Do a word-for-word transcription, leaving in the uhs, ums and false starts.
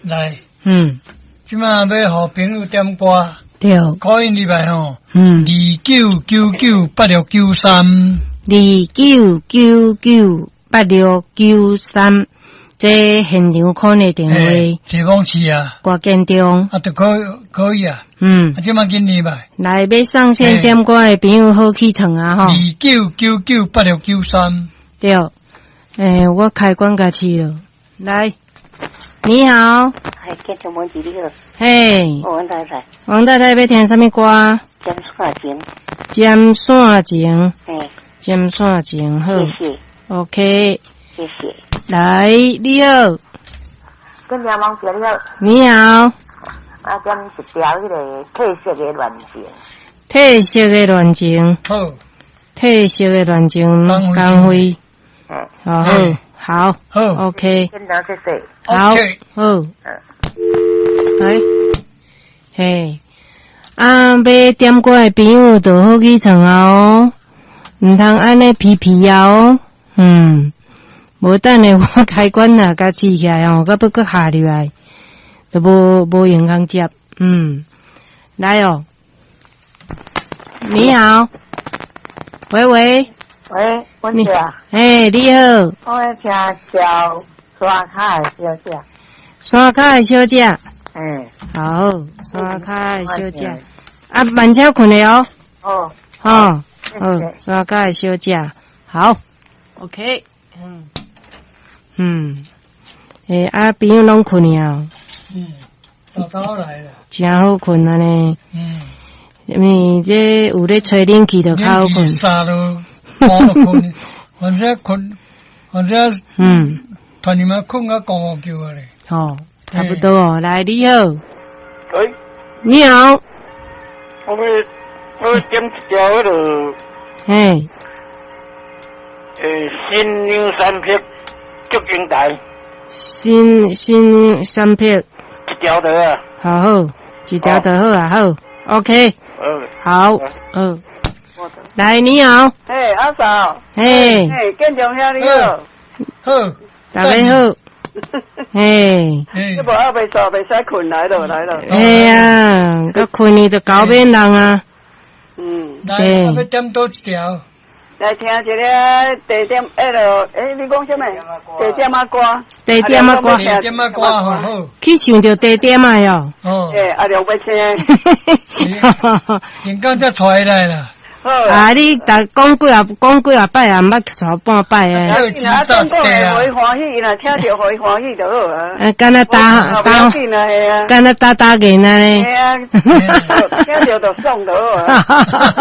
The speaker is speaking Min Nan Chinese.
來，嗯，這馬欲予朋友點歌，對， call in 入來吼，嗯，二九九九八六九三，二九九九八六九三，這現場 call 的電話，這方市啊，歌建中，啊，就可可以啊，嗯啊，這馬緊入來，來欲上線點歌的朋友好起床啊吼，二九九九八六九三，對，欸，我開關共試了，來，你好，係建中文字你好，嘿，王太太，王太太欲聽啥物歌？針線情，針線情，嘿，針線情，好謝謝，，OK，謝謝。來，你好，跟梁王姐你好，你好，啊，點一條彼个褪色的戀情，褪色的戀情，好，褪色的戀情，江江輝，嗯，好好，好，OK，建中謝謝，好， OK 好，來，嘿，啊，欲點歌的朋友就好起床啊哦，毋通按呢皮皮啊哦，嗯，無等下我開關若共試起來哦，閣欲閣下入來，就無無閒通接，嗯，來哦，你好，喂喂，喂，文姐啊，嘿，你好，我欲聽條山跤的小姐，山跤的小姐，嗯，好，山跤的小姐，啊，慢車睏的哦，哦，吼，好，山跤的小姐，好，OK，嗯，嗯，欸，啊，朋友攏睏去啊，嗯，早早來了，誠好睏按呢，嗯，因為這有咧吹冷氣就較好睏，三都半就睏，反正睏，反正嗯，團你們睏到五五叫啊咧，吼，差不多哦，來，你好，喂，你好，我欲我欲點一條彼个嘿，欸新娘三撇祝英台，新新娘三撇，一條就好。好好，一條就好啊，好，OK，嗯，好，好，來，你好，嘿，阿嫂，嘿，嘿，建中兄你好，好，大家好，嘿，這無還袂煞，袂使睏來咯，來咯。嘿啊，閣睏去就搞免人啊，嗯，來，欲點佗一條？來聽一个地點，彼个，欸，你講啥物？地點仔歌。地點仔歌。地點仔歌吼好。去想著地點仔喲。哦。欸，阿良欲聽。連剛才揣來啦。啊！你逐講幾啊，講幾啊擺也毋捌錯半擺啊。啊，講講會予伊歡喜，伊若聽著予伊歡喜就好啊。啊，敢若打打，敢若打打銀仔呢？嘿啊，聽著就爽就好啊。